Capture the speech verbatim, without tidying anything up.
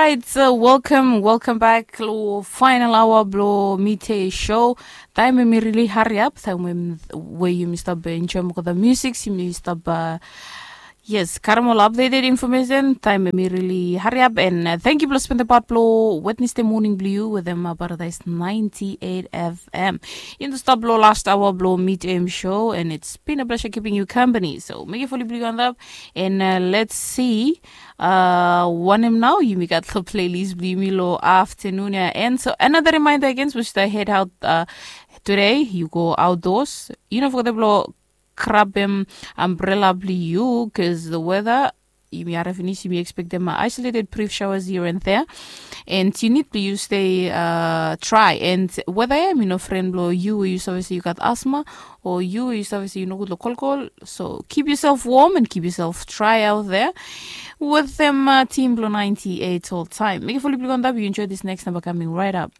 It's a welcome, welcome back lo final hour blo midday show. Taem em i rili hariap, taem we yumi stap enjoem olgeta musiks, yumi stap, uh, yes, karem ol updated information. Taem em i rili hariap, and uh, thank you blo spendem pat blo Wednesday morning blo yu wetem uh, Paradise ninety-eight F M. Yumi stap blo last hour blo midday show, and it's been a pleasure keeping you company. So make it fully blo yu on that, and uh, let's see. Uh, wanem nao yumi gat lo playlist blo yumi lo afternoon ya. And so another reminder again, we should head out uh, today. You go outdoors. You know, for the blo grabem umbrella blo yu, cause the weather, yumi harim finis, yumi expectem uh, isolated brief showers here and there. And you need blo yu stay uh, dry. And weather ya, mi no fren blo yu, yu save se yu gat asthma, o yu, yu save se yu nogud lo kolkol. So keep yourself warm and keep yourself dry out there. Wetem uh, team blo ninety-eight all time. Make it fully blo yu on that, you enjoy this next number coming right up.